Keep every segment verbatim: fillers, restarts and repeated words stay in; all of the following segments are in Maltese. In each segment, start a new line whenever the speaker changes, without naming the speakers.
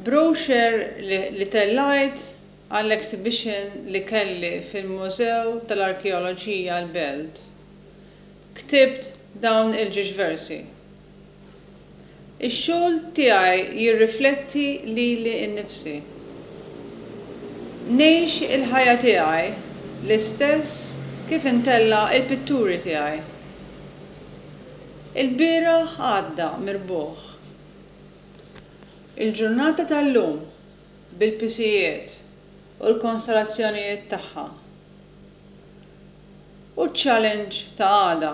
Brochure li, li tellajt għall-exhibition li kelli fil-Mużew tal-Arkeoloġija l-Belt. Ktibt dawn il-ġiex versi. Ix-xogħol tiegħi jirrifletti lili nnifsi. Ngħix il-ħajja tiegħi l-istess kif intella il-pitturi tiegħi. Il-bieraħ għadda mirbuħ. Il-ġurnata tal-lum bil-pisijiet u l-konstelazzjonijiet tagħha. U challenge ta' għada.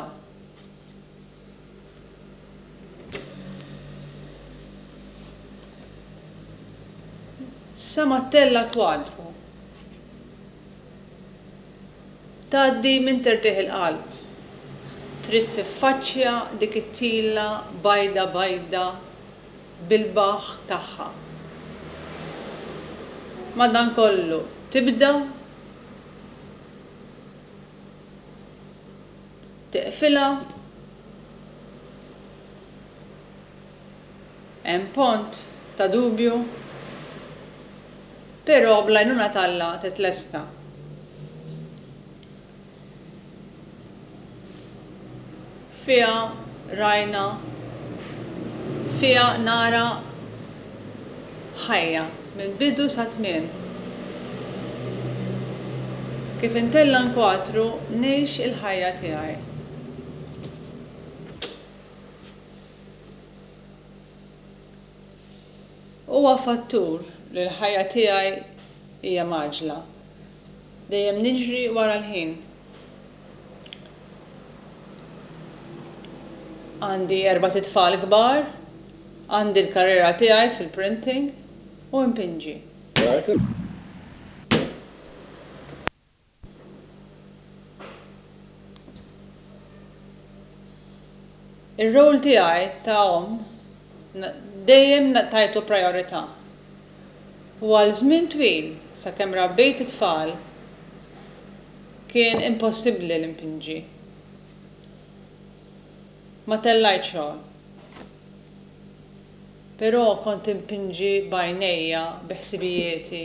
Sa ma ttella' kwadru. Tgħaddi minn tertieħ il-qalb. Trid tiffaċċja dik it-tila bajda bajda bil-baħ tagħha. Madankollu tibda teqfilha hemm pont ta' dubju, però bl-għajnuna t'Alla titlesta. Fiha rajna, fiha nara ħajja minn bidu sa tmiem. Kif intella nkwatru ngħix il-ħajja tiegħi. Huwa fattur li l-ħajja tiegħi hija mgħaġġla. Dejjem niġri wara l-ħin. Għandi erbat itfal kbar, għandi l-karriera tiegħi fil-printing u npinġi. Ir-rol tiegħi ta' omm dejjem tajtu priorità. U għal żmien twil sakemm rabbejt it-tfal kien impossibbli li npinġi. Ma tellajt xogħol. Però kont impinġi b'għajnejja, bi ħsibijieti.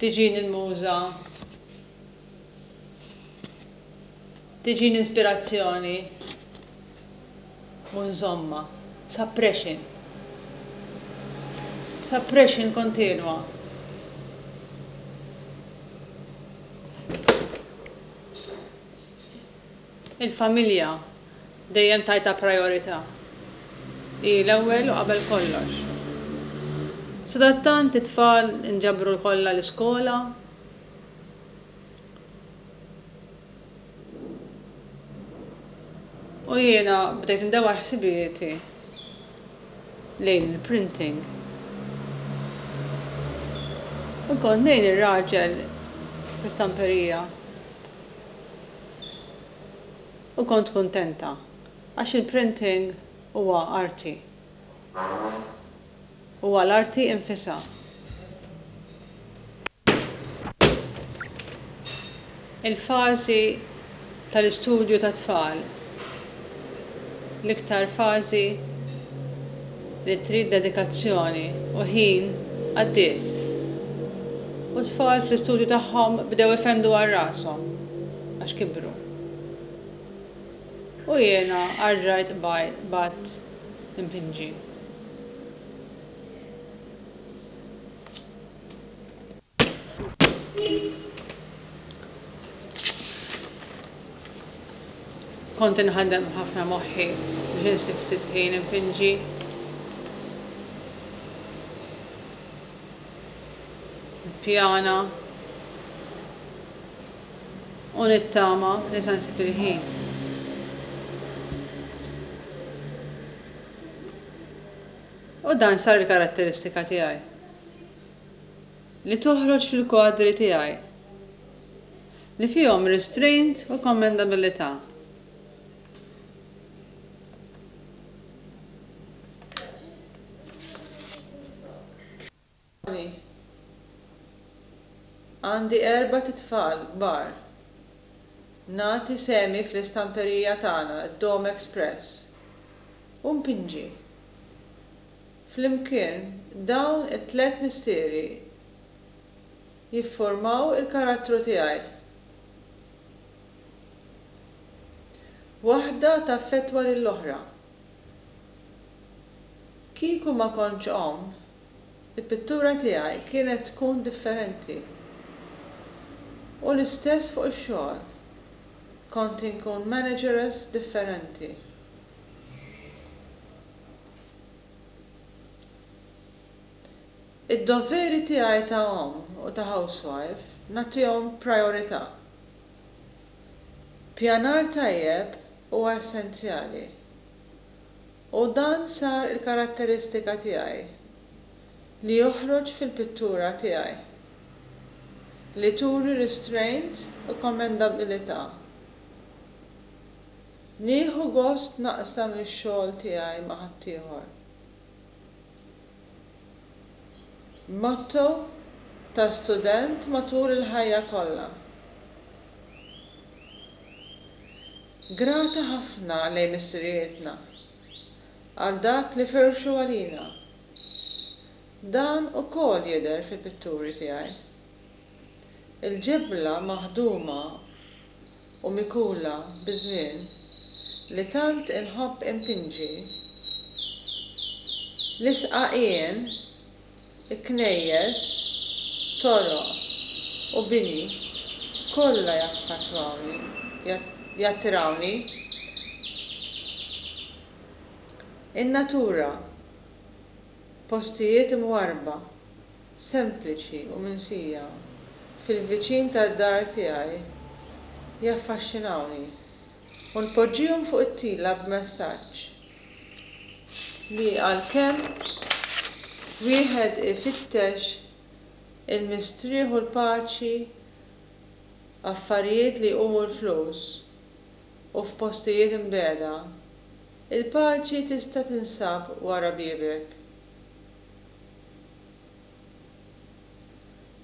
Tiġini l-muża, tiġini ispirazzjoni u nżomma. Suppression. Suppression kontinwa. Il-familja dejjem tajtha priorità. Hi l-ewwel u qabel kollox. Sadattant it-tfal inġabru kollha l-iskola. U jiena bdejt indawwar ħsibijieti lejn il-printing. U kont ngħin ir-raġel fl-istamperija. U kont kuntenta għax il-printing huwa arti. Huwa l-arti infisha. Il-fażi tal-istudju tat-tfal, l-iktar fażi li trid dedikazzjoni u ħin għaddiet. U t-tfal fl-istudju tagħhom bdew ifendu għal rashom għax kibru. U jiena erġajt bdejt impinġi. Kont inħaddem ħafna moħħi biex insib ftit ħin impinġi. Nippjana u nittama li se nsib il-ħin. U dan sar il-karatteristika tiegħi. Li toħroġ fil-kwadri tiegħi. Li fihom restraint u commendabilità. Għandi erbat itfal kbar. Nagħti sehmi fl-istamperija tagħna, d-Dome Express. U npinġi. Flimkien dawn it-tliet mistieri jiffurmaw il-karattru tiegħi. Waħda taffettwa lill-oħra. Kieku ma kontx omm, il-pittura tiegħi kienet tkun differenti. U l-istess fuq ix-xogħol. Kont inkun manageress differenti. Id-doveri tiegħi ta' omm u ta' housewife nagħtihom priorità. Pjanar tajjeb huwa essenzjali. U dan sar il-karatteristika tiegħi li joħroġ fil-pittura tiegħi li turi restraint u commendabilità. Nieħu gost naqsam ix-xogħol tiegħi ma' ħaddieħor. Motto ta' student matul il-ħajja kollha. Grata ħafna lejn missirijietna għal dak li firxu għalina. Dan ukoll jidher fil-pitturi tiegħi. Il-ġebla maħduma u mikula biż-żmien li tant inħobb impinġi, l-isqaqien, il-knejjes, toroq u bini kollha jaffattwawni, jattirawni. In-natura, postijiet imwarrba, sempliċi u minsija fil-viċin tad-dar tiegħi jaffaxxinawni u npoġġihom fuq it-tila b'messaġġ li għalkemm wieħed ifittex il-mistrieħ u l-paċi, affarijiet li jqumu l-flus u f'postijiet imbiegħda, il-paċi tista' tinsab wara biebek.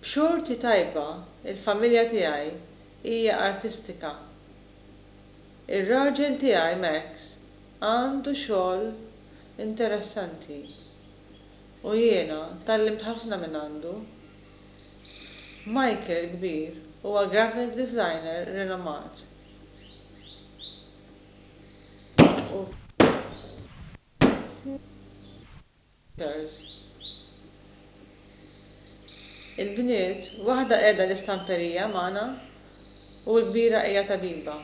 B'xorti tajba, il-familja tiegħi hija artistika. Ir-raġel tiegħi Max għandu xogħol interessanti u jiena tgħallimt ħafna minn għandu. Michael il-kbir huwa graphic designer rinomat. U Il-bniet, waħda qiegħda l-istamperija magħna u l-kbira hija tabiba.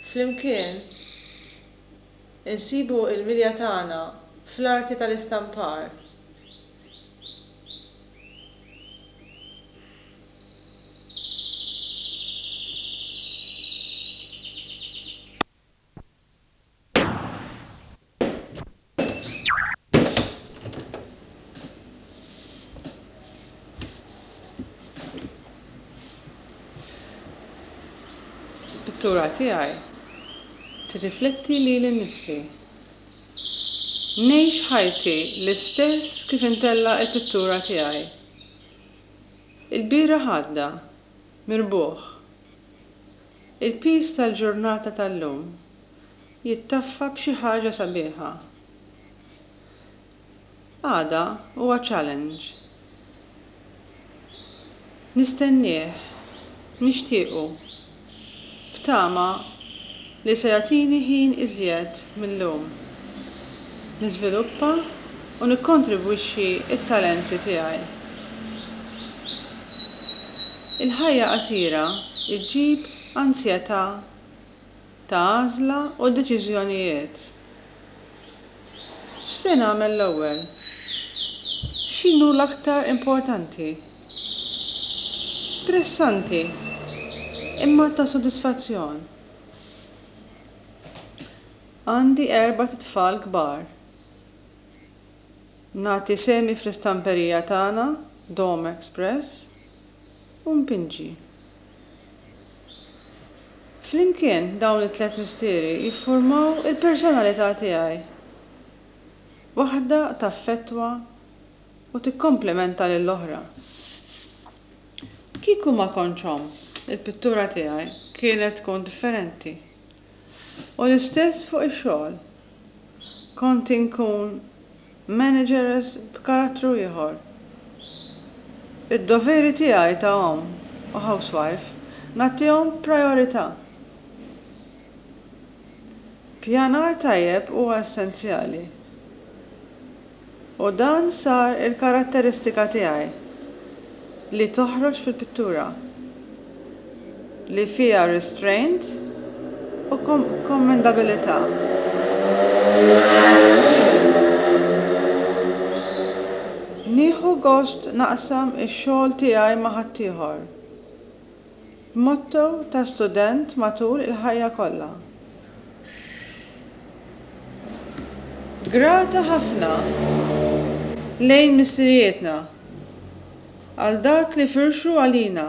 Flimkien insibu l-milja tagħna fl-arti tal-istampar. Il-pittura tiegħi tirrifletti lili nnifsi. Ngħix ħajti l-istess kif intella' l-pittura tiegħi. Il-bieraħ għadda, mirbuħ. Il-piż tal-ġurnata tal-lum jittaffa b'xi ħaġa sabiħa. Għada huwa challenge. Nistennieh, nixtiequ, b'tama li se jagħtini ħin iżjed mil-lum. Niżviluppa u nikkontribwixxi t-talenti tiegħi. Il-ħajja qasira ġġib ansjetà ta' għażla u deċiżjonijiet. X'se nagħmel l-ewwel? X'inhu l-aktar importanti? Stressanti, imma ta' sodisfazzjon. Għandi erbat itfal kbar. Nagħti sehmi fl-istamperija tagħna, Dome Express, u npinġi. Flimkien dawn it-tliet mistieri jiffurmaw il-personalità tiegħi. Waħda taffettwa u tikkomplementa lill-oħra. Kieku ma kontx omm, il-pittura tiegħi kienet tkun differenti. U l-istess fuq ix-xogħol. Kont inkun Manageress b'karattru ieħor. Id-doveri tiegħi ta' omm u housewife nagħtihom prijorità. Pjanar tajjeb huwa essenzjali. U dan sar il-karatteristika tiegħi li toħroġ fil-pittura, li fiha restraint u kommendabilità. Nieħu gost naqsam ix-xogħol tiegħi ma' ħaddieħor. Motto ta' student matul il-ħajja kollha. Grata ħafna lejn missirijietna għal dak li firxu għalina.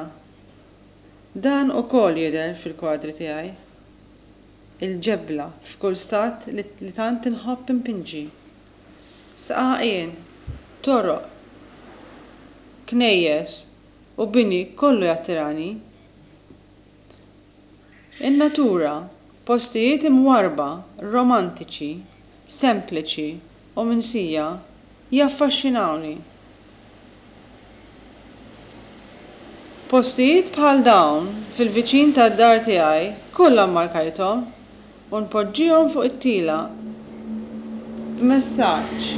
Dan ukoll jidher fil-kwadri tiegħi. Il-ġebla f'kull stat li, li tant inħobb inpinġi. Sqaqien, toroq, knejjes u bini kollu jattirani. In-natura, postijiet imwarrba, romantiċi, sempliċi u minsija jaffaxxinawni. Postijiet bħal dawn fil-viċin tad-dar tiegħi kollha mmarkajthom u npoġġihom fuq it-tila b'messaġġ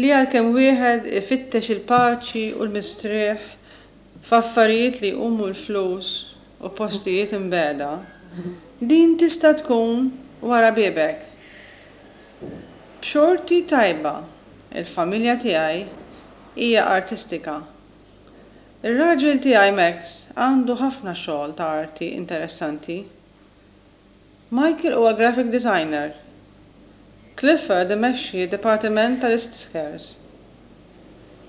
li għalkemm wieħed ifittex il-paċi u l-mistrieħ f'affarijiet li jqumu l-flus u postijiet imbegħda, din tista' tkun wara biebek. B'xorti tajba, il-familja tiegħi hija artistika. Ir-raġel tiegħi Max għandu ħafna xogħol ta' arti interessanti. Michael huwa graphic designer. Clifford imexxi d-dipartiment tal-stickers.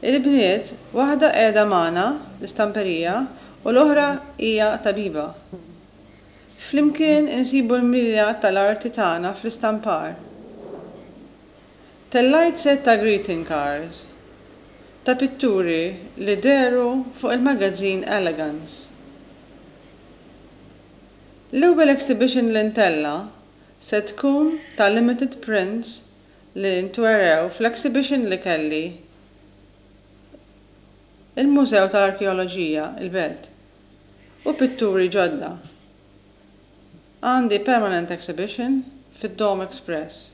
Il-bniet, waħda qiegħda magħna l-istamperija u l-oħra hija tabiba. Flimkien insibu l-milja tal-arti tagħna fl-istampar. Tellajt set ta' greeting cards ta' pitturi li dehru fuq il-magazine Elegance. L-ewwel exhibition li ntella' se tkun ta' limited prints li ntwerew fl-exhibition li kelli il-Mużew tal-Arkeoloġija, il-Belt, u pitturi ġodda. Għandi permanent exhibition fid-Dome Express.